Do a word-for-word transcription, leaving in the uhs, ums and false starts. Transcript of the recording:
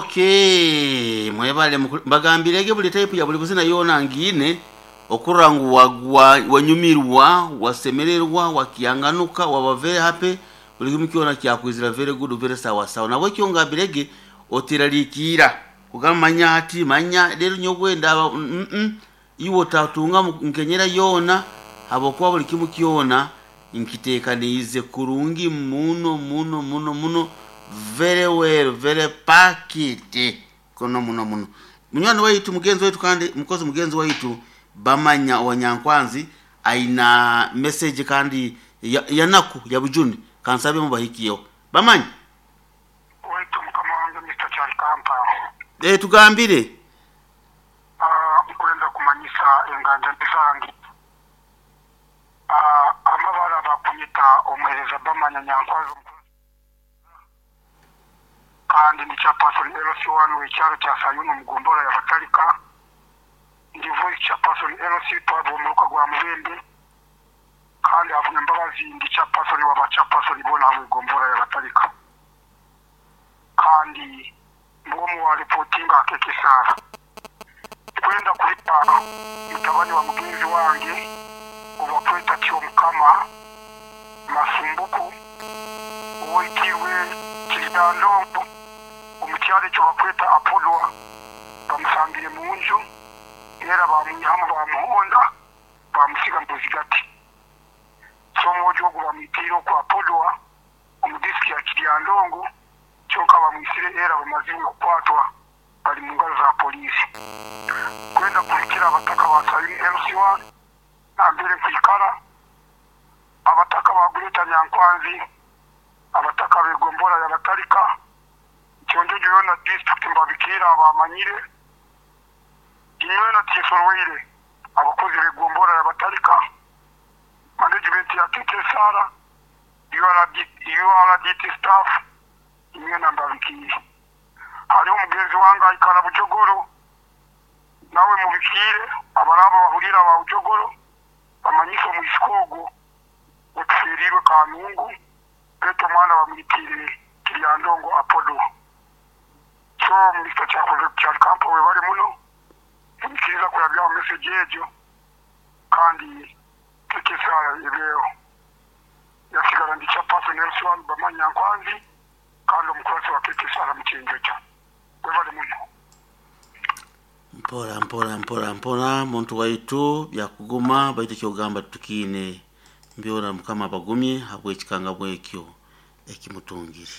Okay, mwebale mukulu- mbagambirege buli type ya buli buzina yona ngine okurora ngu wagwa wanyumirwa, wasemererwa, wakianganuka, waba very happy, buli kimu kyona kyakwizira very good, very sawa sawa. Nabwe kyo ngambirege oteraliikira kugamba manya ati manya rero nyogwe ndaba mm -mm. Iwe otatunga mu- nkenyera yona habwokuba buli kimu kyona nkitekaniize kurungi muno muno muno muno, very well, very pakiti kuno muno muno. Munywani waitu, mugenzi waitu, kandi mukozi mugenzi waitu Bamanya Owanyankwanzi aina message kandi ya- yanaku ya bujuni kansabe mubahikiyeho. Bamanya. Waitu mukama wange Mister Kyalikampa. E, tugambire. Ah, nkwenda kumanyisa enganja zange. Ah, amabara bakunyita omuhereza Bamanya Nyankwazi omukuru, kandi ndi chairperson L C one w'ekyaro kya Sayuni omugombora ya Batalika, ndi vice chairperson L C twava omuruka gwa Mubende, kandi havuna embabazi ndi chairperson waba chairperson boona habwegombora ya Batalika, kandi mbwomu wa reportinga akekesara kwenda kulita mutabani wa mugenzi wange obakweta Kyomukama Masumbuku owoitirwe Kiridandongo omukyalo ekyo bakweta Apolwa, bamusangire munju era bamunyihamu bamuhonda bamusiga muzigati. So omwojo ogwo bamwitiire oku Apolwa omu disiki ya Kiryandongo, kyonka bamwisire era bamazire okukwatwa, bali mu ngalo za poliisi. Kwenda kulikira abataka ba Sayuni L C one nambere nkwikara, abataka ba Gureta Nyankwanzi, abataka begombora ya Batalika, Kyonjojo yona district mbabikira abamanyire inywena tisorweire, abakozi begombora ya Batalika, management ya K K S R, U R D, U R D T staff, inywena mbabikiire. Hariho omugenzi wange aikara Bujogoro, nawe mubikiire abaraba bahurira ba Bujogoro bamanyise omwisika ogwo otufiirirwe Kanungu betu omwana bamwitiire Kiryandongo Apodo. So Mister Kyalikampa, webale muno munyikiriza kurabyaho message egyo, kandi tekesara ebeeho yasigara ndi chairperson L C one Bamanya Nkwanzi kandi omukurasi wa K K S R Mukyenjojo. Webale muno. Mpora mpora mpora mpora, muntu waitu, byakuguma baitu kyogamba tukiine mbyona. Mukama abagumye habwekikanga bwekyo ekimutungire.